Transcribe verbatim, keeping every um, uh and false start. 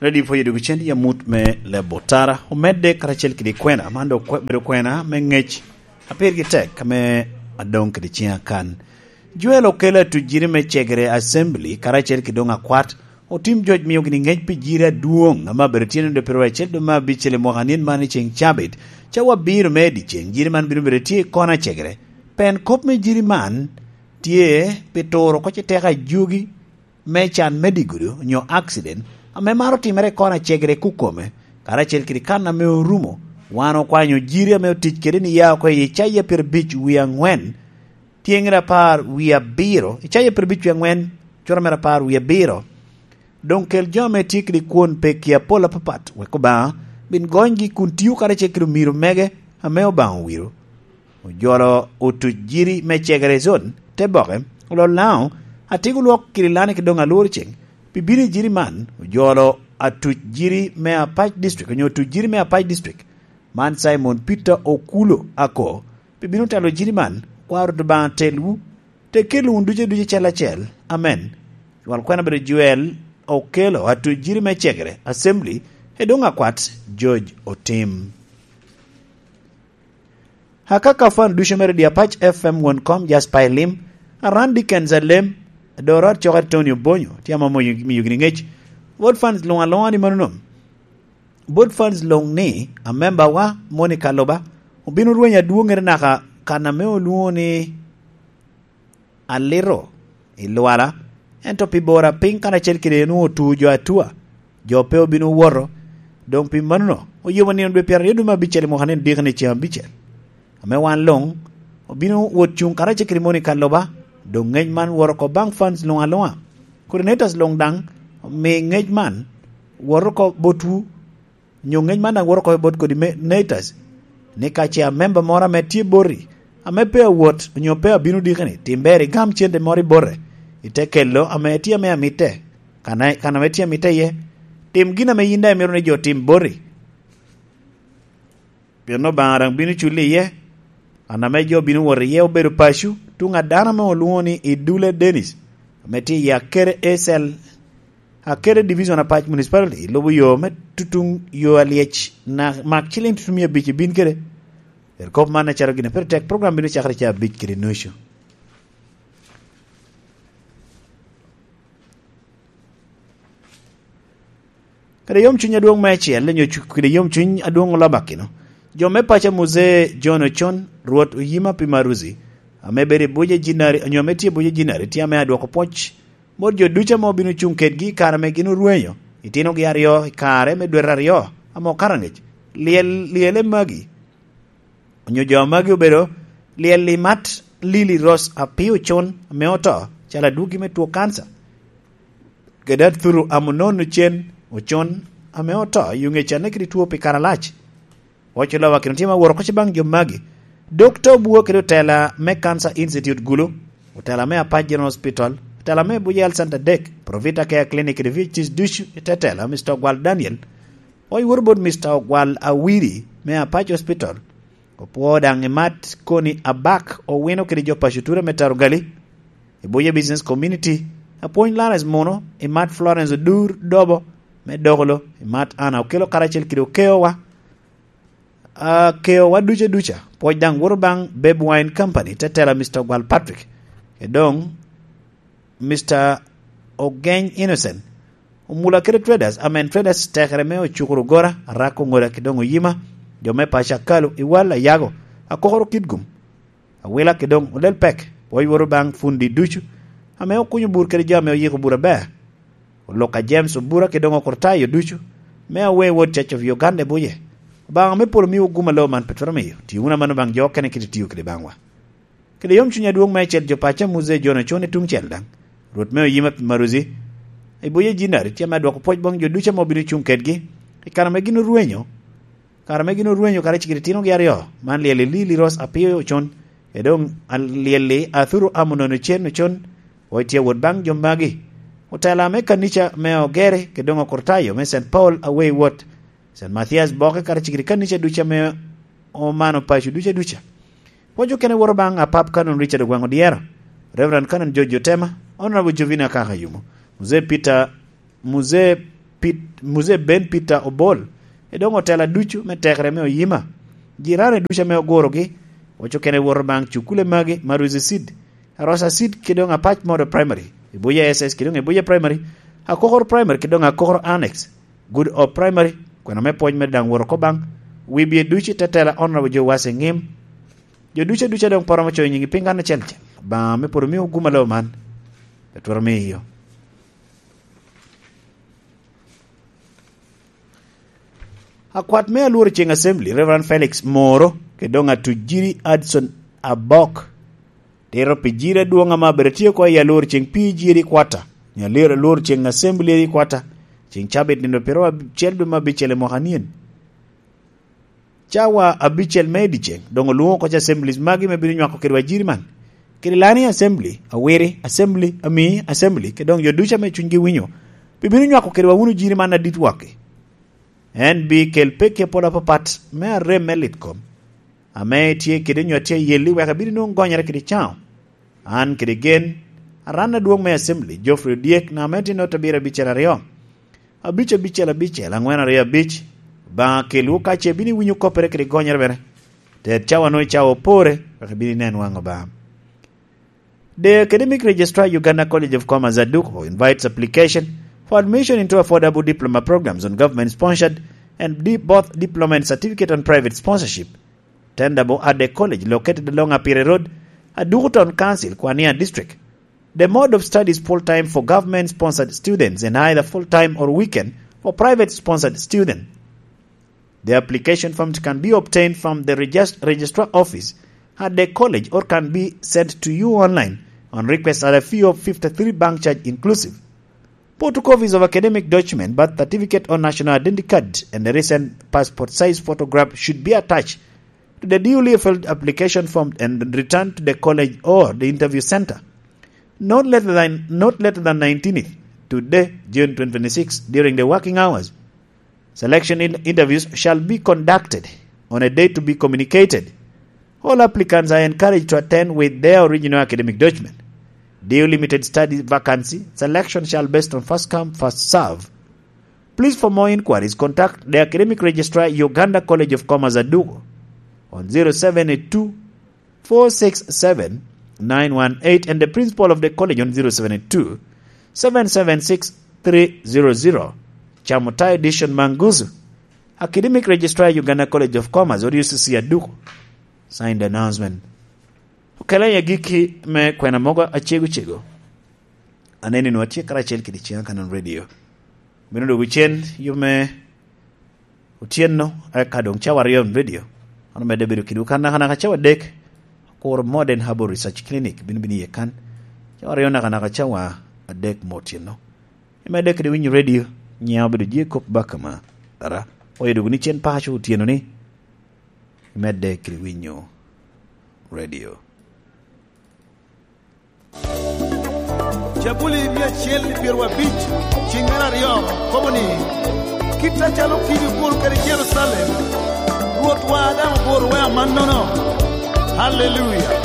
Ready for Education, ya mut me lebo tara, omedde karacel kede kwena, man dok kwe-, bedo kwena me ngec, a pirgi tek, ame adoŋ kede ciŋa kan. Joel okelo atujiri me cegere Assembly, karacel kede doŋ akwat, otim joc mio gini ngec pi jiri adwoŋ, ame abedo tyen ode pero acel dwe me abicel i mwaka nin man i ceŋ cabit, cawa abiro me ediceŋ, jiri man bino bedo tye i kona cegere. Pen kop me jiri man tye pi turo oko ci teko ajugi, me can me digudu onyo accident ame maro timere i kona cegere kukome, karacel kede kan ame orumo, wan okwanyo jiri ame otic kede ni ya oko i Icaya pyerabic wie aŋwen, tyeŋere apar wie abiro, Icaya pyerabic wie aŋwen, cura mere apar wie abiro. Doŋ kel jo ame tye kede kwon pekki apol apapat, wek Obaŋa bin gonygi kun tio karacel kede omiro mege ame Obaŋa owiro. Ojolo otuc jiri me cegere i zon, te boke, olol Laŋo, atiko lwok kede lani ki doŋ alworo ceŋ. Pi bino i jiri man, ojolo atuc jiri me Apac District, onyo otuc jiri me Apac District. Man Simon Peter Okulo Ako, pi bino telo jiri man, kwaro Rwot Obaŋa telwu, te kelo wun ducu ducu acel acel. Amen. Cwal kwena bedo Joel Okelo, atuc jiri me cegere, Assembly, e doŋ akwat, George Otim. Akaka fan ducu mere di Apac F M won kom Jasper Elim, Aran Dickens Alem, Dorot Cok Antonio Bonyo, tye ame omiyo, miyo gini ngec. Bot fans luŋ aluŋa ni mano nom. Bot fans luŋ ni, amemba wa, Monica Loba, obino rweny adwoŋere naka kan ame olwoŋo ni Alito i Lwala, ento pi bora piny karacel kede en otu jo atua, jo pe obino woto. Doŋ pi mano, oyubo nino dwe pyeraryo dwe me abicel i mwaka ni diki ni ceŋ abicel. Ame wan luŋ, obino wot cuŋ karacel kede Monica Loba, doŋ ngec man woto oko baŋ fans luŋ aluŋa. Coordinators luŋ daŋ, omi ngec man woto oko botwu, onyo ngec man daŋ woto oko bot coordinators, ni ka ce amemba moro ame tye boti, ame pe awot, onyo pe abino diki ni, tim ber igam cente moro i bote, ite kelo ame tye ame amitte, kan, kan ame tye amitte iye, tim gin ame yin daŋ imito ni jo otim boti. Pien Obaŋa daŋ bino culi iye. An ame jo bino wot iye obedo paco, tuŋ a dano ame olwoŋo ni Idule Dennis, ame tye i Akere A C L, Akere Division Apac Municipality, lubo yo me tutuŋ yo alyec, na mak ciliŋ tutumia abic ibin kede. Ero kop man acalo gin a pire tek, program bino cakere ca abic kede nucu. Kede yomcuny adwoŋ me acel, onyo cu-, kede yomcuny adwoŋ olabakino, jo me paco Muzee John Ocon, Rwot Oyima pi Maruzi, ame bedo i buc a Jinari, onyo ame tye i buc a Jinari, tye ame adwoko pwoc bot jo ducu ame obino cuŋ kedgi i kare ame gin orwenyo, itinogi aryo i kare me dwete aryo ame okato angec. Lyel, lyele magi, onyo jo magi obedo lyel i Mat Lili Ros Apio Ocon ame oto, calo adwogi me two kanca, kede Athuru Amunon Ocen Ocon ame oto i Ungecane kede two pi kare alac. Oco Lowakino tye ma woro koc baŋ jo magi. Dokta Obua kede otela me Cancer Institute Gulu, otela me Apac General Hospital, otela me Buja Health Center dek, Provita Care Clinic kede V H Cs ducu i tetela, Mister Ogwal Daniel, oc woro bot Mister Ogwal Awiri me Apac Hospital. Opwoo daŋ i Mat Koni Abak Owino kede jo paco ture me Tarugali, i Buja Business Community, apwony Lawrence Muno, i Mat Florence Odur Dobo me Dokolo, i Mat Anna Okelo karacel kede okeowa, akeowa duca duca. Pwoc daŋ woto baŋ Beb Wine Company, tetela Mister Ogwal Patrick, e doŋ Mister Ogeny Innocent, Omula kede Traders, amen Traders tekere me Ocukuru Gora, Arako Ŋoda ki doŋ Oyima, jo me paco Akalu, Iwal, Ayago, Akokoro Kitgum, Awila ki doŋ Olel Pek, pwoc woto baŋ fundi ducu, ame okunyo bur kede jo ame oyiko bur aber. Oluka James Obura ki doŋ Okurtayo ducu, me Away Ward Church of Uganda i Buje. Obaŋa me polo miwu gum alo man pe twero miyo, ti wunu amanno baŋ jo okene kite tiyo kede baŋwa. Kede yomcuny adwoŋ meicel jo paco a Muzee John Ocon i tuŋ cel daŋ, Rwot me Oyima pi Maruzi, i Buje Jinari tye ame adwoko pwoc baŋ jo ducu ame obino cuŋ kedgi, i kare ame gin orwenyo, kare ame gin orwenyo kare cigiri tinogi aryo, man lyel i Lili Ros Apio Ocon, e doŋ a-, lyel i Athuru Amunon Ocen Ocon, pwoc tye awot baŋ jo magi. Otela me kanica me Ogere, kede doŋ Okurtayo me Saint Paul Away Ward, Saint Mathias Boke kara cigiri kanica ducu ame omano paco duca duca. Pwoc okene woto baŋ Apap Canon Richard Ogwaŋ Odyero, Reverend Canon George Otema, Honorable Jovina Kaka Yumo, Muzee Peter, Muzee Pit-, Muzee Ben Peter Obol, e doŋ otela ducu me tekere me Oyima. Jirani ducu ame ogurogi, oco kene woto baŋ cukule magi, Maruzi Seed, Arosa Seed, kede doŋ Apac Model Primary, Ebuya S S, kede doŋ Ebuya Primary, Akokor Primary, kede doŋ Akokor Annex, Good Hope Primary, kwena me pwony mere daŋ woto oko baŋ wibye ducu i tetela Honorable Joe Wase Ŋim. Jo ducu aducu a doŋ poto ame ocoyo nyigi piny kan acel acel, Obaŋa me pwod omio gum alo man, pe twero miyo. Akwat me alworo ceŋ Assembly, Reverend Felix Moro, kede doŋ Atujiri Hudson Abok, tito pi jiri adwoŋ ame abedo tye oko i alworo ceŋ pi jiri kwata, nyo alworo, alworo ceŋ Assembly i kwata, ceŋ cabit nino pyeraryo acel dwe me abicel i mwaka nien. Cawa abicel me i dyeceŋ, doŋ olwoŋo oko ca assemblies magi me bino nywako kedwa jiri man. Kede Lani Assembly, Awiri Assembly, Amii Assembly, kede doŋ jo ducu ame cunygi winyo, pi bino nywako kedwa wunu jiri man adit waki. En bi kel pekki apol apapat me arem me lit kom, ame tye kede nyo tye ayelli wek ebin nwoŋo gonyere kede caŋo. An kede gen, aran adwoŋ me Assembly, Geoffrey Odyek, namba me tye note abiro abicel aryo, abic abicel abicel, aŋwen aryo abic. Obaŋa kelwu ka ce bino iwinyo koppere kede gonyere bene. Ted cawa nwoŋo i cawa opore, wek ibin inen waŋ Obaŋa. The Academic Registrar, Uganda College of Commerce, Aduku, invites application for admission into affordable diploma programs on government-sponsored and di-, both diploma and certificate on private sponsorship, tenderable at the college located along Apire Road, Aduku Town Council, Kwania District. The mode of study is full-time for government-sponsored students and either full-time or weekend for private-sponsored students. The application form can be obtained from the regis-, registrar office at the college or can be sent to you online on request at a fee of fifty-three bank charge inclusive. Photocopies of academic document, birth certificate or national identity card, and a recent passport size photograph should be attached to the duly filled application form and returned to the college or the interview center not later than, not later than nineteenth, today, June twenty twenty-six, during the working hours. Selection in-, interviews shall be conducted on a date to be communicated. All applicants are encouraged to attend with their original academic document. Due limited study vacancy, selection shall based on first come, first serve. Please, for more inquiries, contact the Academic Registrar, Uganda College of Commerce, Adugo, on zero seven eight two, four six seven, nine one eight, and the principal of the college on zero seven eight two, seven seven six, three zero zero. Chamutai Dishon Manguzu, Academic Registrar, Uganda College of Commerce, or U C C Adugo. Signed announcement. Okela i agikki me kwena mogo acego cego. Aneni nwa tye karacel kede Ciang Kanan Radio. Bino dwogo cen yo me otyeno, eka doŋ cawa aryo radio. An omedde bedo kedwu kan nakanaka cawa adek. Akuro Modern Herbal Research Clinic bino bino iye kan. Cawa aryo nakanaka cawa adek me otyeno. Imedde kede winyo radio, nyiŋa obedo Jacob Bakama. Ara, oyo dwogo ni cen paco otyeno ni. Imedde kede winyo radio. Jabuli mia acel i pyerwa abic, ciŋ mere aryo, kobo ni, "Kit acalo kidi oguro kede Jerucalem, Rwotwa daŋ oguro wea mannono." Haleluya!